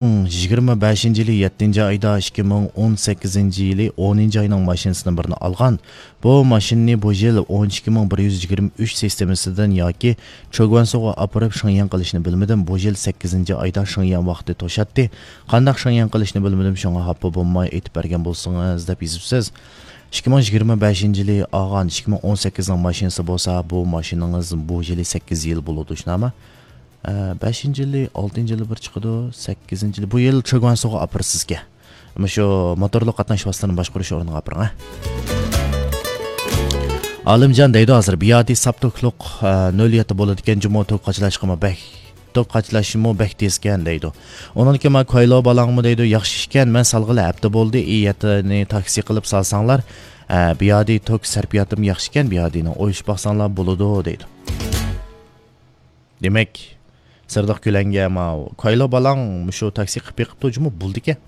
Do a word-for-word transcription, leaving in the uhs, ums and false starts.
يىگىرمە بەشىنچى يىلى يەتتىنچى ئايدا، ئىككى مىڭ ئون سەككىزىنچى يىلى ئونىنچى ئاينىڭ ماشىنىسىنى بىرنى ئالغان. بۇ ماشىنىنى بۇ يىل ئون ئىككى مىڭ بىر يۈز يىگىرمە ئۈچ سىستېمىسىدىن ياكى چۆگۈەنسۇغا ئاپىرىپ شېڭيەن قىلىشنى بىلمىدىم. بۇ يىل سەككىزىنچى ئايدا شېڭيەن ۋاقتى توشاتتى. قانداق شېڭيەن قىلىشنى بىلمىدىم، شۇڭا خاپا بولماي ئېيتىپ بەرگەن بولسىڭىز، دەپ يېزىپسىز. ئىككى مىڭ يىگىرمە بەشىنچى يىلى ئالغان، ئىككى مىڭ ئون سەككىزنىڭ ماشىنىسى بولسا، بۇ ماشىنىڭىز بۇ يىلى سەككىز يىل بولىدۇ، شۇنداقمۇ؟ ئە، بەشىنچى يىلى، ئالتىنچى يىلى بىر چىقىدۇ، سەككىزىنچى يىلى. بۇ يىل چۆگۈەنسۇغا ئاپىرىسىزكەن. مۇشۇ موتورلۇق قاتناش ۋاسىتىلىرىنى باشقۇرۇش ئورنىغا ئاپىرىڭ، ھە؟ ئالىمجان دەيدۇ ھازىر، بىيادى ساپ توكلۇق، ئە، نۆل يەتتە بولىدىكەن، جۇمۇ توك قاچىلاشقىمۇ بەك، توك قاچىلاشمۇ بەك تېزكەن دەيدۇ. ئۇنىڭدىن كېيىن ما كايلو بالاڭمۇ دەيدۇ، ياخشى ئىكەن، مەن سالغىلى ھەپتە بولدى، ئى يەتتىنى تاكسى قىلىپ سالساڭلار، ئە، بىيادى توك سەرپىياتىمۇ ياخشى ئىكەن، بىيادىنىڭ ئويلىشىپ باقساڭلار بولىدۇ دەيدۇ. دېمەك، سىرلىق كۆلەڭگە ماۋۇ كايلو بالاڭ مۇشۇ تاكسى قىلىپ بېقىپتۇ جۇمۇ، بولىدىكەن.